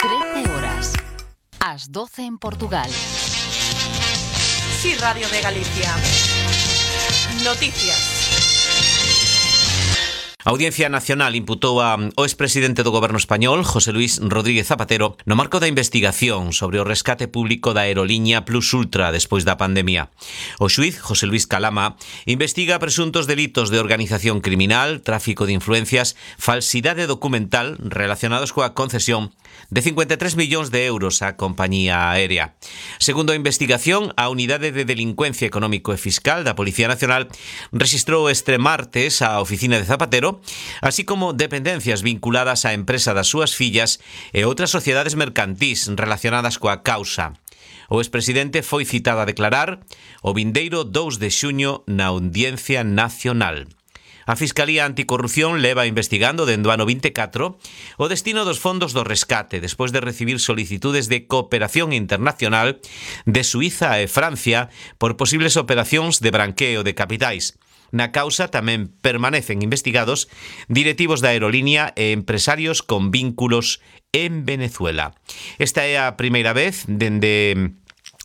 13 horas. As 12 en Portugal. Sí, Radio de Galicia. Noticias. A Audiencia Nacional imputou ao expresidente do Goberno español, José Luis Rodríguez Zapatero, no marco da investigación sobre o rescate público da aeroliña Plus Ultra despois da pandemia. O xuíz, José Luis Calama, investiga presuntos delitos de organización criminal, tráfico de influencias, falsidade documental relacionados coa concesión de 53 millóns de euros á compañía aérea. Segundo a investigación, a Unidade de Delincuencia Económico e Fiscal da Policía Nacional rexistrou este martes a oficina de Zapatero, así como dependencias vinculadas á empresa das súas fillas e outras sociedades mercantís relacionadas coa causa. O expresidente foi citado a declarar o vindeiro 2 de xuño na Audiencia Nacional. A Fiscalía Anticorrupción leva investigando dende o ano 24 o destino dos fondos do rescate despois de recibir solicitudes de cooperación internacional de Suíza e Francia por posibles operacións de branqueo de capitais. Na causa tamén permanecen investigados directivos da aerolínea e empresarios con vínculos en Venezuela. Esta é a primeira vez dende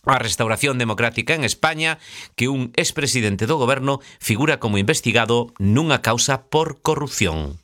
a Restauración Democrática en España que un expresidente do goberno figura como investigado nunha causa por corrupción.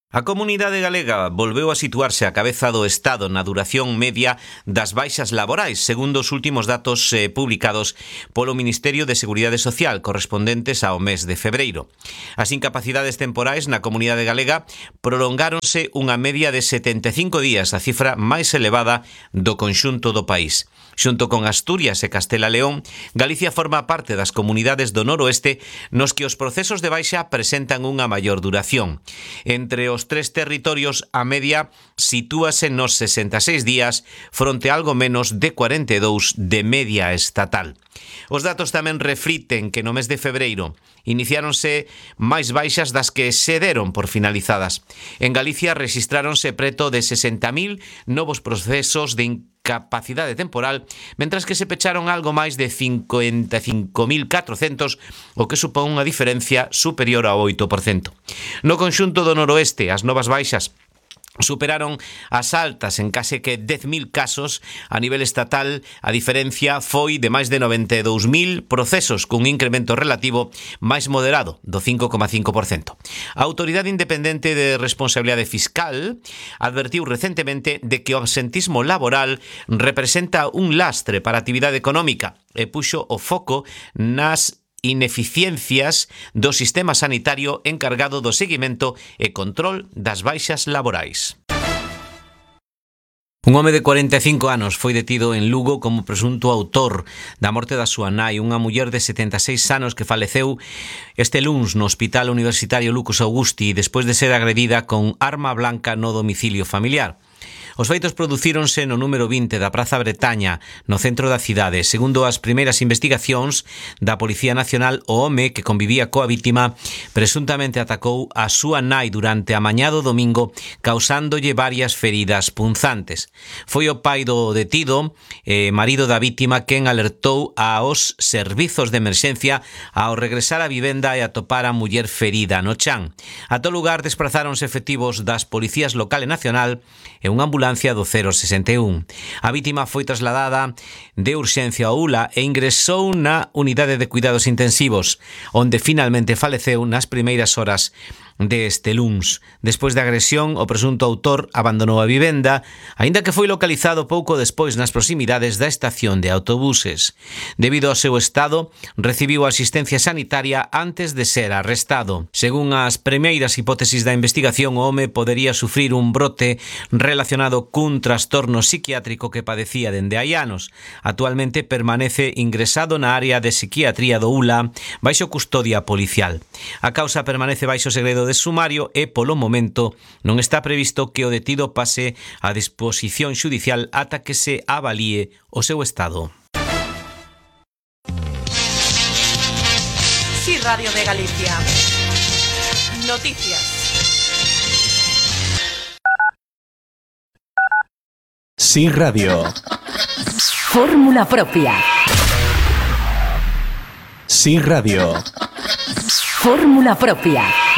A comunidade galega volveu a situarse á cabeza do Estado na duración media das baixas laborais, segundo os últimos datos publicados polo Ministerio de Seguridade Social correspondentes ao mes de febreiro. As incapacidades temporais na comunidade galega prolongáronse unha media de 75 días, a cifra máis elevada do conxunto do país. Xunto con Asturias e Castela León, Galicia forma parte das comunidades do noroeste nos que os procesos de baixa presentan unha maior duración. Entre os tres territorios, a media sitúase nos 66 días fronte a algo menos de 42 de media estatal. Os datos tamén refliten que no mes de febreiro iniciáronse máis baixas das que se deron por finalizadas. En Galicia rexistráronse preto de 60.000 novos procesos de incapacidade temporal, mentras que se pecharon algo máis de 55.400, o que supón unha diferencia superior ao 8%. No conxunto do noroeste, as novas baixas superaron as altas en case que 10.000 casos. A nivel estatal, a diferencia foi de máis de 92.000 procesos, cun incremento relativo máis moderado, do 5,5%. A Autoridade Independente de Responsabilidade Fiscal advertiu recentemente de que o absentismo laboral representa un lastre para a actividade económica e puxo o foco nas ineficiencias do sistema sanitario encargado do seguimento e control das baixas laborais. Un home de 45 anos foi detido en Lugo como presunto autor da morte da súa nai, unha muller de 76 anos que faleceu este luns no Hospital Universitario Lucas Augusti despois de ser agredida con arma blanca no domicilio familiar. Os feitos producíronse no número 20 da Praza Bretaña, no centro da cidade. Segundo as primeiras investigacións da Policía Nacional, o home que convivía coa vítima presuntamente atacou a súa nai durante a mañá do domingo, causándolle varias feridas punzantes. Foi o pai do detido, marido da vítima, quen alertou aos servizos de emerxencia ao regresar á vivenda e atopar a muller ferida no chan. A todo lugar desprazáronse efectivos das policías local e nacional e unha ambulancia do 061. A vítima foi trasladada de urxencia ao ULA e ingresou na unidade de cuidados intensivos, onde finalmente faleceu nas primeiras horas deste luns. Despois da agresión, o presunto autor abandonou a vivenda, aínda que foi localizado pouco despois nas proximidades da estación de autobuses. Debido ao seu estado, recibiu asistencia sanitaria antes de ser arrestado. Según as primeiras hipótesis da investigación, o home podería sufrir un brote relacionado cun trastorno psiquiátrico que padecía dende hai anos. Actualmente permanece ingresado na área de psiquiatría do ULA baixo custodia policial. A causa permanece baixo segredo de sumario e, polo momento, non está previsto que o detido pase a disposición xudicial ata que se avalíe o seu estado. Sí, Radio de Galicia. Noticias. Sí, Radio. Fórmula propia. Sí, Radio. Fórmula propia.